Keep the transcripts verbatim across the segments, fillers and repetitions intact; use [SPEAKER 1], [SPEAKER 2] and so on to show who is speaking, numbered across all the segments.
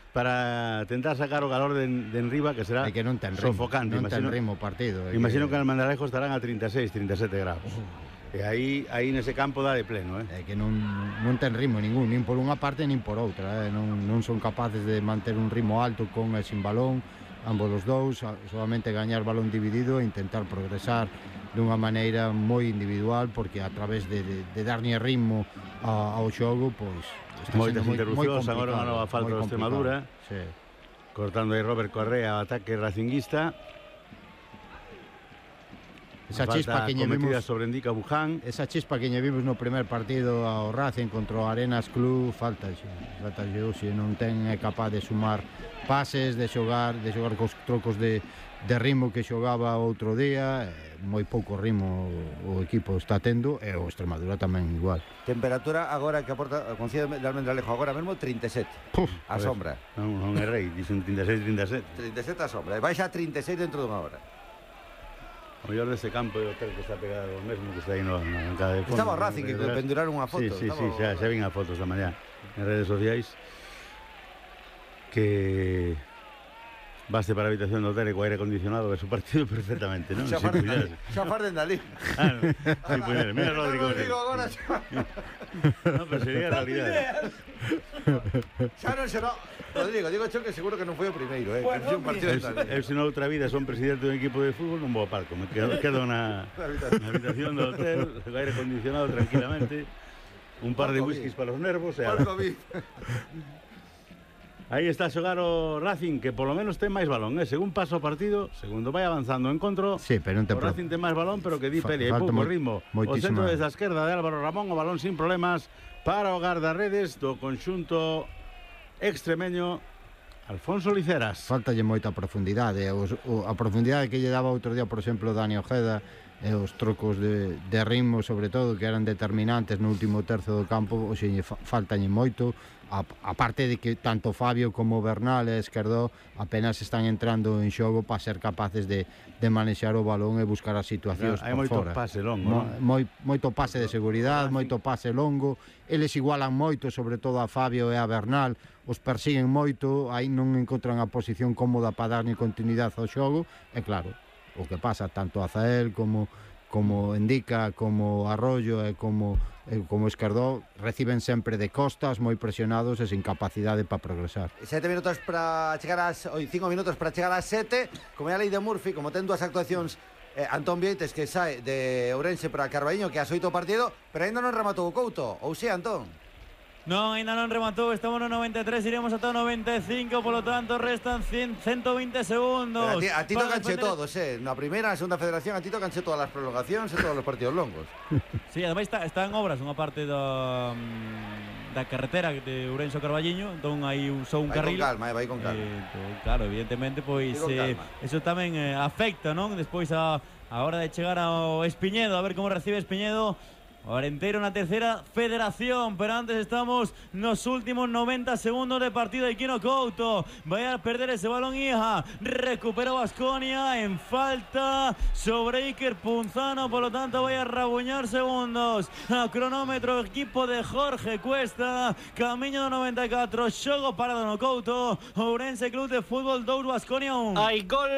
[SPEAKER 1] para tentar sacar o calor de, de enriba, que será
[SPEAKER 2] é que non ten ritmo,
[SPEAKER 1] sofocante.
[SPEAKER 2] non ten
[SPEAKER 1] Imagino,
[SPEAKER 2] ritmo o partido.
[SPEAKER 1] imagino que,
[SPEAKER 2] que
[SPEAKER 1] que en Almendralejo estarán a trinta e seis, trinta e sete grados. Uh. E aí, aí nese campo dá de pleno, eh?
[SPEAKER 2] É que non, non ten ritmo ningún, nin por unha parte nin por outra, eh? non, non son capaces de manter un ritmo alto con e sin balón, ambos os dous, solamente gañar balón dividido e intentar progresar dunha maneira moi individual, porque a través de, de, de darlle ritmo a, ao xogo, pois
[SPEAKER 1] moitas interrupcións, agora unha nova falta de Extremadura,
[SPEAKER 2] sí.
[SPEAKER 1] Cortando aí Robert Correa, ataque racinguista.
[SPEAKER 2] Esa chispa que lle vimos
[SPEAKER 1] sobre Indica Buján.
[SPEAKER 2] Esa chispa que lle vimos no primer partido ao Racing contra o Arenas Club, falta falta se non ten é capaz de sumar pases, de xogar, de xogar cos trocos de de ritmo que xogaba outro día, moi pouco ritmo o equipo está tendo, e o Extremadura tamén igual.
[SPEAKER 3] Temperatura agora que aporta o Concello de Almendralejo agora mesmo trinta e sete. Puf, a sombra.
[SPEAKER 1] Non, non é rei, dicen trinta e seis, trinta e sete.
[SPEAKER 3] trinta e sete a sombra, e baixa a trinta e seis dentro dunha hora.
[SPEAKER 1] O mellor deste campo de hotel que está pegado ao mesmo que está aí no, na bancada de fondo.
[SPEAKER 3] Estaba o Racing que penduraron unha foto.
[SPEAKER 1] Sí, sí,
[SPEAKER 3] estaba...
[SPEAKER 1] sí, xa, xa vin a fotos da mañá en redes sociais que baste para a habitación do hotel e co aire acondicionado ve su partido perfectamente, non?
[SPEAKER 3] Xa farden dali.
[SPEAKER 1] Ah, no. Sí, pues, mira Rodrigo.
[SPEAKER 3] Rodrigo agora xa.
[SPEAKER 1] No, pero sería realidade.
[SPEAKER 3] Xa non será. Rodrigo, digo cho que seguro que non foi o primeiro, eh.
[SPEAKER 1] Bueno, un partido eu, eu se noutra vida son presidente dun equipo de fútbol, non vou ao palco, me quedo, quedo na, na habitación do hotel, co aire acondicionado tranquilamente, un par de whiskies para os nervos e a... Aí está a xogar o Racing, que polo menos ten máis balón, eh? Según paso o partido, segundo vai avanzando o encontro,
[SPEAKER 2] sí, pero non
[SPEAKER 1] o Racing ten máis balón, pero que di Peli, hai pouco ritmo. O centro desde a esquerda de Álvaro Ramón, o balón sin problemas para o guardarredes do conxunto extremeño Alfonso Liceras.
[SPEAKER 2] Faltalle moita profundidade, os, o, a profundidade que lle daba outro día, por exemplo, Dani Ojeda, e os trocos de, de ritmo, sobre todo, que eran determinantes no último terzo do campo, oxe, faltalle moito. A, a parte de que tanto Fabio como Bernal e Esquerdó apenas están entrando en xogo para ser capaces de, de manexar o balón e buscar as situacións
[SPEAKER 1] por fora. Hai
[SPEAKER 2] moito
[SPEAKER 1] pase longo,
[SPEAKER 2] Mo, moi, moito pase de seguridade, moito pase longo, eles igualan moito, sobre todo a Fabio e a Bernal, os persiguen moito, aí non encontran a posición cómoda para darlle continuidade ao xogo, e claro, o que pasa tanto a Zael como como Indica, como Arroyo e como e como Esquerdó reciben sempre de costas, moi presionados e sin capacidade para progresar.
[SPEAKER 3] Sete minutos para chegar ás oi, cinco minutos para chegar ás sete, como é a lei de Murphy, como ten dúas actuacións eh, Antón Vieites que sae de Ourense para Carballiño, que as oito partido, pero ainda non rematou o Couto, ou si, Antón?
[SPEAKER 4] Non, ainda non rematou, estamos no noventa e tres, iremos ata o noventa e cinco, polo tanto restan ciento vinte segundos.
[SPEAKER 3] Pero a ti, a ti tocanche defender... todos, eh? Na primeira, na segunda federación, a ti tocanche todas as prolongacións e todos os partidos longos.
[SPEAKER 4] Sí, ademais está, está en obras unha parte da, da carretera de Ourense ao Carballiño, entón hai un, só un
[SPEAKER 3] vai
[SPEAKER 4] carril.
[SPEAKER 3] Vai con calma, eh, vai con calma.
[SPEAKER 4] Eh, to, claro, evidentemente, pois eh, eso tamén eh, afecta, non? Despois a, a hora de chegar ao Espiñedo, a ver como recibe Espiñedo. Orenteiro na terceira federación, pero antes estamos nos últimos noventa segundos de partido de Quino Couto. Vai a perder ese balón Ija, recupera Baskonia en falta sobre Iker Punzano, por lo tanto vai a rabuñar segundos. A cronómetro equipo de Jorge Cuesta, camiño do noventa e catro, xogo parado no Couto. Ourense Club de Fútbol dous, Baskonia un.
[SPEAKER 5] Hai gol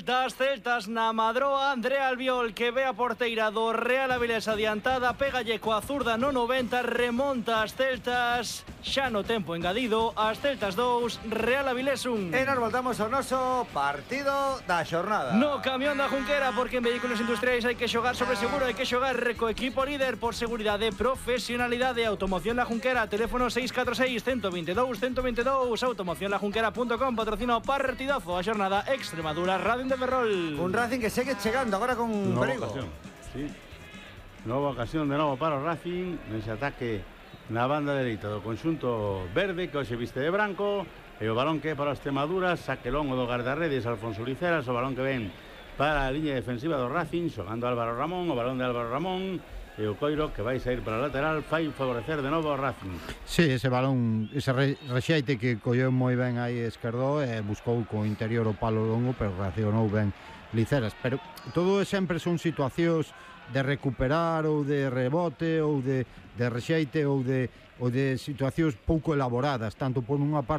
[SPEAKER 5] das Celtas na Madroa, André Albiol que ve a porteira do Real Avilés adiantada, pégalle coa zurda no noventa, remonta as Celtas, xa no tempo engadido, as Celtas dous, Real Avilés un.
[SPEAKER 3] E nos voltamos ao noso partido da xornada.
[SPEAKER 5] No camión da Junquera, porque en vehículos industriais hai que xogar sobre seguro, hai que xogar co equipo líder por seguridade, profesionalidade. Automoción La Junquera, teléfono seis catro seis, uno dos dos, uno dos dos, automoción la junquera punto com, patrocina o partidazo a xornada Extremadura Radio de Ferrol.
[SPEAKER 3] Un Racing que segue chegando agora con
[SPEAKER 1] Nova
[SPEAKER 3] perigo.
[SPEAKER 1] Ocasión. Sí. Nova ocasión de novo para o Racing nese ataque na banda dereita do conxunto verde, que hoxe viste de branco, e o balón que é para a Extremadura, saque longo do guardarredes Alfonso Liceras, o balón que ven para a liña defensiva do Racing, xogando Álvaro Ramón, o balón de Álvaro Ramón, e o Coiro que vai sair para a lateral, fai favorecer de novo ao Racing.
[SPEAKER 2] Sí, ese balón, ese rexeite que colleu moi ben aí Esquerdó e buscou co interior o palo longo, pero reaccionou ben Liceras, pero todo sempre son situacións de recuperar ou de rebote ou de, de rexeite ou de, ou de situacións pouco elaboradas, tanto por unha parte